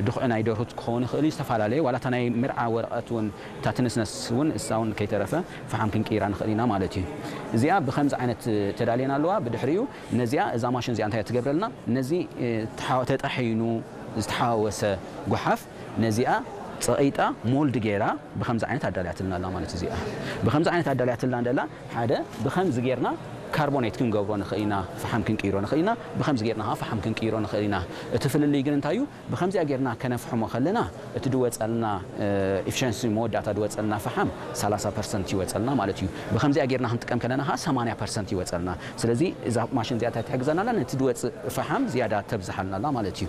ድኹዒ ናይ ደርሁት ክኸውን ይኽእል እዩ፣ ዝተፈላለየ ዋላ እታ ናይ መርዓ ወረቐት እውን እታ ትንስነስ እውን እሳ እውን ከይተረፈ ፈሓም ክንቅይራ ንኽእል ኢና ማለት እዩ። እዚኣ ብኸምዚ ዓይነት ተዳልየና ኣለዋ። ብድሕሪኡ ነዚኣ እዛ ማሽን እዚኣ እንታይ ትገብረልና? ነዚ ተጣሒኑ ዝተሓዋወሰ ጓሓፍ ነዚኣ ጸቒጣ ሞልድ ገይራ ብኸምዚ ዓይነት ኣዳልያትልና ኣላ ማለት እዚኣ። ብኸምዚ ዓይነት ኣዳልያትልና እንደላ ሓደ ብኸምዚ ጌርና ካርቦኔት ክንገብሮ ንኽእል ኢና፣ ፈሓም ክንቅይሮ ንኽእል ኢና። ብኸምዚ ጌርና ኸዓ ፈሓም ክንቅይሮ ንኽእል ኢና። እቲ ፍልልይ ግን እንታይ እዩ? ብኸምዚኣ ጌርና ከነፍሕሞ ከለና እቲ ድወጸልና ኤፊሸንሲ መወዳእታ ድወጸልና ፈሓም ሰላሳ ፐርሰንት ይወጸልና ማለት እዩ። ብኸምዚኣ ጌርና ክንጥቀም ከለና ኸዓ ሰማንያ ፐርሰንት ይወጸልና። ስለዚ እዛ ማሽን እዚኣ እንታይ ትሕግዘና ኣላ? ነቲ ድወጽእ ፈሓም ዝያዳ ተብዝሓልና ኣላ ማለት እዩ።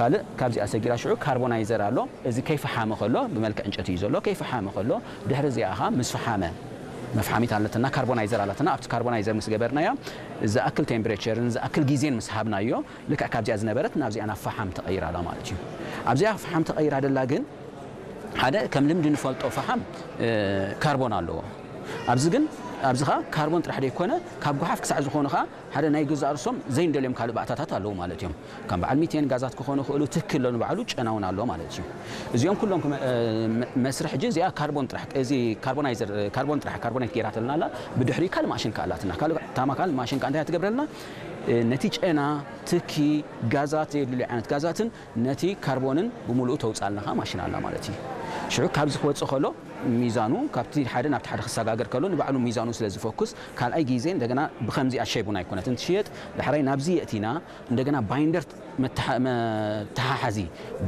ካልእ ካብዚኣ ሰጊራ ሽዑ ካርቦናይዘር ኣሎ። እዚ ከይፈሓመ ከሎ ብመልክዕ ዕንጨቲ እዩ ዘሎ። ከይፈሓመ ከሎ ድሕሪ እዚኣ ኸዓ ምስ ፈሓመ መፍሓሚት ኣለትና፣ ካርቦናይዘር ኣለትና። ኣብቲ ካርቦናይዘር ምስ ገበርናያ ዝኣክል ቴምፕሬቸርን ዝኣክል ግዜን ምስ ሃብናዮ ልክዕ ካብዚኣ ዝነበረት ናብዚኣ ናብ ፈሓም ተቐይራ ኣላ ማለት እዩ። ኣብዚኣ ፈሓም ተቐይራ ደላ ግን ሓደ ከም ልምዲ ንፈልጦ ፈሓም ካርቦን ኣለዎ። ኣብዚ ግን ኣብዚ ኸዓ ካርቦን ጥራሕ ደይኮነ ካብ ጓሓፍ ክሳዕ ዝኾኑ ኸዓ ሓደ ናይ ገዛእ ርእሶም ዘይንደልዮም ካልእ ባእታታት ኣለዉ ማለት እዮም። ከም በዓል ሚቴን ጋዛት ክኾኑ ይኽእሉ፣ ትኪ ኣሎ ንባዕሉ፣ ጨና እውን ኣሎ ማለት እዩ። እዚኦም ኩሎም ክመ- እ፣ መ- መስርሕ ሕጂ እዚኣ ካርቦን ጥራሕ፣ እዚ ካርቦናይዘር፣ እ፣ ካርቦን ጥራሕ፣ ካርቦኔት ጌራትልና ኣላ። ብድሕሪ ካልእ ማሽን ከኣ ኣላትና። ካልእ ታማ ካልእ ማሽን ከኣ እንታይ ትገብረልና? እ፣ ነቲ ጨና፣ ትኪ፣ ጋዛት፣ ዘየድልዩ ዓይነት ጋዛትን ነቲ ካርቦንን ብምሉኡ ተውጻልና ኸኣ ማሽን ኣላ ማለት እዩ። ሽዑ ካብዚ ክወጽእ ከሎ ሚዛኑ ካብቲ ሓደ ናብቲ ሓደ ክሰጋገር ከሎ ንባዕሉ ሚዛኑ ስለ ዝፈኩስ ካልኣይ ግዜ እንደገና ብኸምዚኣ ሸይብ እውን ኣይኮነትን ትሽየጥ። ዳሕራይ ናብዚ የእቲና እንደገና ባይንደር መተሓ- መተሓሓዚ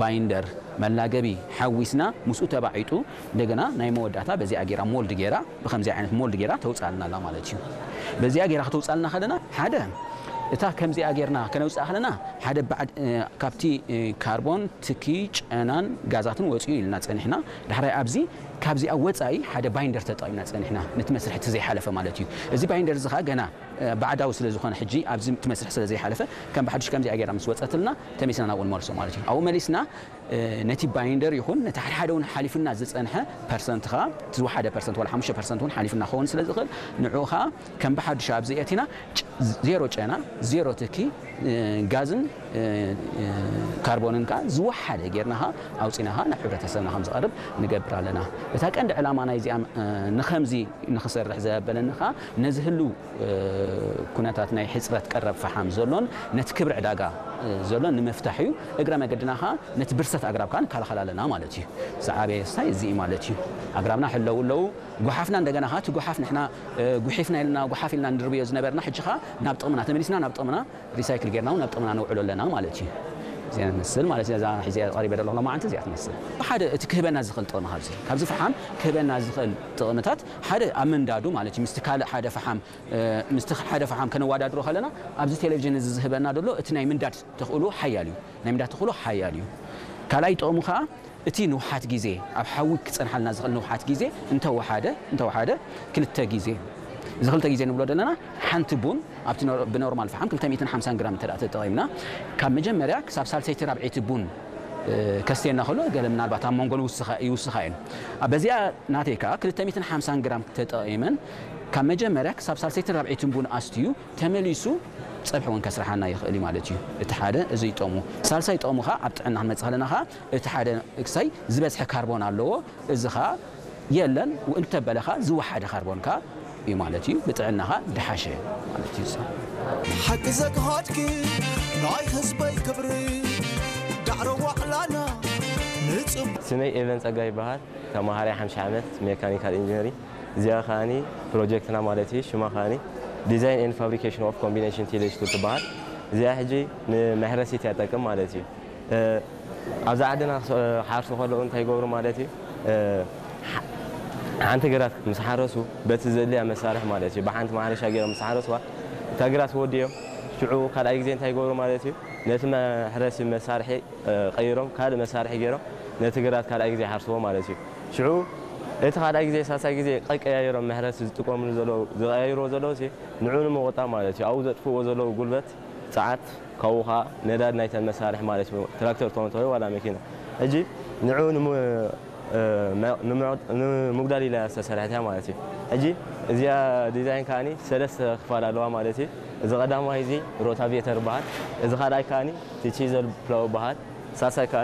ባይንደር መላገቢ ሓዊስና ምስኡ ተባዒጡ እንደገና ናይ መወዳእታ በዚኣ ጌራ ሞልድ ጌራ ብኸምዚ ዓይነት ሞልድ ጌራ ተውፅኣልና ኣላ ማለት እዩ። በዚኣ ጌራ ከተውፅኣልና ከለና ሓደ እታ ከምዚኣ ጌርና ከነውፅኣ ከለና ሓደ ባዕድ እ፣ ካብቲ እ፣ ካርቦን ትኪ ጨናን ጋዛትን ወፂኡ ኢልና ፀኒሕና። ዳሕራይ ኣብዚ ካብዚኣ ወፃኢ ሓደ ባይንደር ተጠቒምና ፀኒሕና ነቲ መስርሕ እቲ ዘይሓለፈ ማለት እዩ። እዚ ባይንደር እዚ ኸዓ ገና እ፣ ባዕዳዊ ስለ ዝኾነ ሕጂ ኣብዚ እቲ መስርሕ ስለ ዘይሓለፈ ከም ብሓድሽ ከምዚኣ ጌርና ምስ ወፀትልና ተመሊስና ናብኡ ንመልሶ ማለት እዩ። ኣብኡ መሊስና እ፣ ነቲ ባይንደር ይኹን ነቲ ሓደ ሓደ እውን ሓሊፍና ዝፀንሐ ፐርሰንት ኸዓ እቲ ዝወሓደ ፐርሰንት ዋላ ሓሙሽተ ፐርሰንት እውን ሓሊፍና ክኸውን ስለ ዝኽእል ንዕኡ ኸዓ ከም ብሓድሽ ኣብዚ የእቲና ጭ- ዜሮ ጨና ዜሮ ትኪ እ፣ ጋዝን እ፣ እ፣ ካርቦንን ከኣ ዝወሓደ ጌርና ኸኣ ኣውፂና ኸኣ ናብ ሕብረተሰብና ከም ዝቐርብ ንገብር ኣለና። እታ ቀንዲ ዕላማ ናይዚኣ እ፣ ንኸምዚ ንኽሰርሕ ዘበለኒ ኸኣ ነዚ ህልው እ፣ ኩነታት ናይ ሕፅረት ቀረብ ፈሓም ዘሎን ነቲ ክብሪ ዕዳጋ እ፣ ዘሎን ንምፍታሕ እዩ። እግረ መገድና ኸኣ ነቲ ብርሰት ኣግራብ ከኣ ንከላኸል ኣለና ማለት እዩ። ዝዓበየ ስታይ እዚ እዩ ማለት እዩ። ኣግራብና ሕለው ኣለዉ። ጓሓፍና እንደገና ኸኣ እቲ ጓሓፍ ንሕና እ፣ ጉሒፍና ኢልና ጓሓፍ ኢልና ንድርብዮ ዝነበርና ሕጂ ኸኣ ናብ ጥቕምና ተመሊስና ናብ ጥቕምና ሪሳይክል ጌርና እውን ናብ ጥቕምና ነውዕሎ ኣለና ማለት እዩ። እዚኣ ትመስል ማለት እዩ። እዛ ሒዘ ቀሪበ ዘለኹ ሎማዓንቲ እዚኣ ትመስል። ሓደ እቲ ክህበና ዝኽእል ጥቕሚ ካብዚ ካብዚ ፈሓም ክህበና ዝኽእል ጥቕምታት ሓደ ኣብ ምንዳዱ ማለት እዩ። ምስቲ ካልእ ሓደ ፈሓም እ፣ ምስቲ ሓደ ፈሓም ከነወዳድሮ ከለና ኣብዚ ቴሌቪዥን እዚ ዝህበና ዘሎ እቲ ናይ ምንዳድ ተኽእሎ ሓያል እዩ። ናይ ምንዳድ ተኽእሎ ሓያል እዩ። ካልኣይ ጥቕሙ ኸዓ እቲ ንውሓት ግዜ ኣብ ሓዊ ክጸንሓልና ዝኽእል ንውሓት ግዜ እንተወሓደ እንተወሓደ ክልተ ግዜ እዚ ክልተ ግዜ ንብሎ ዘለና ሓንቲ ቡን ኣብቲ ኖር- ብኖርማል ፈሓም ክልተ ሚእትን ሓምሳን ግራም እንተ ተጠቒምና ካብ መጀመርያ ክሳብ ሳልሰይቲ ራብዐይቲ ቡን እ፣ ከስትየና ከሎ ገለ ምናልባት ኣብ መንጎ ንውስኻ ይውስኻ እየን። ኣብ በዚኣ ናተይ ከኣ ክልተ ሚእትን ሓምሳን ግራም ተጠቒመን ካብ መጀመርያ ክሳብ ሳልሰይትን ራብዐይትን ቡን ኣስትዩ ተመሊሱ ጸብሒ እውን ከስርሓና ይኽእል እዩ ማለት እዩ። እቲ ሓደ እዚ ይጠሙ። ሳልሳይ ጠሙ ኸኣ ኣብ ጥዕና ክንመጽእ ከለና ኸኣ እቲ ሓደ ክሳይ ዝበዝሐ ካርቦን ኣለዎ። እዚ ኸኣ የለን እንተበለ ኸኣ ዝወሓደ ካርቦን ከኣ እዩ ማለት እዩ። ብጥዕና ኸኣ ድሓሸ ማለት እዩ። ሓቂ ዘግሃድኪ ናይ ህዝበይ ክብሪ ዳዕሮ ዋዕላና ንጽብ ስመይ ኤቨን ጸጋ ይበሃል። ተማሃራይ ሓምሳ ዓመት ሜካኒካል ኢንጂነሪንግ። እዚኣ ከኣኒ ፕሮጀክትና ማለት እዩ። ሽማ ከኣኒ Design and Fabrication of Combination Tillage Tool ትበሃል። እዚኣ ሕጂ ንመሕረሲት እያ ትጠቅም ማለት እዩ። እ፣ ኣብዛ ዓድና ክስ- ክሓርሱ ከለዉ እንታይ ይገብሩ ማለት እዩ? እ፣ ሓ- ሓንቲ ግራት ምስ ሓረሱ በቲ ዘድልያ መሳርሒ ማለት እዩ። ብሓንቲ ማሕረሻ ገይሮም ምስ ሓረስዋ እታ ግራት ወዲኦም ሽዑ ካልኣይ ግዜ እንታይ ይገብሩ ማለት እዩ? ነቲ መሕረሲ መሳርሒ እ፣ ቀይሮም ካልእ መሳርሒ ገይሮም ነቲ ግራት ካልኣይ ግዜ ይሓርስዎ ማለት እዩ። ሽዑ እቲ ካልኣይ ግዜ ሳልሳይ ግዜ ቀቀያይሮም መሕረሲ ዝጥቀምሉ ዘለዉ ዝቀያይርዎ ዘለዉ ሲ ንዑ ንምቑጣብ ማለት እዩ። ኣብኡ ዘጥፍእዎ ዘለዉ ጉልበት፣ ጸዓት፣ ካብኡ ኸዓ ነዳድ ናይተን መሳርሒ ማለት እዩ። ትራክተር ትኾን ትኾን ዋላ መኪና። ሕጂ ንዑ ንሙ- እ፣ መ- ንምዕ- ንምጉዳል ኢላ ዝተሰርሐት እያ ማለት እዩ። ሕጂ እዚኣ ዲዛይን ከኣኒ ሰለስተ ክፋል ኣለዋ ማለት እዩ። እዚ ቀዳማይ እዚ ሮታቬተር ይበሃል። እዚ ካልኣይ ከኣኒ እቲ ቺዘል ፕላው ይበሃል። ሳልሳይ ከኣኒ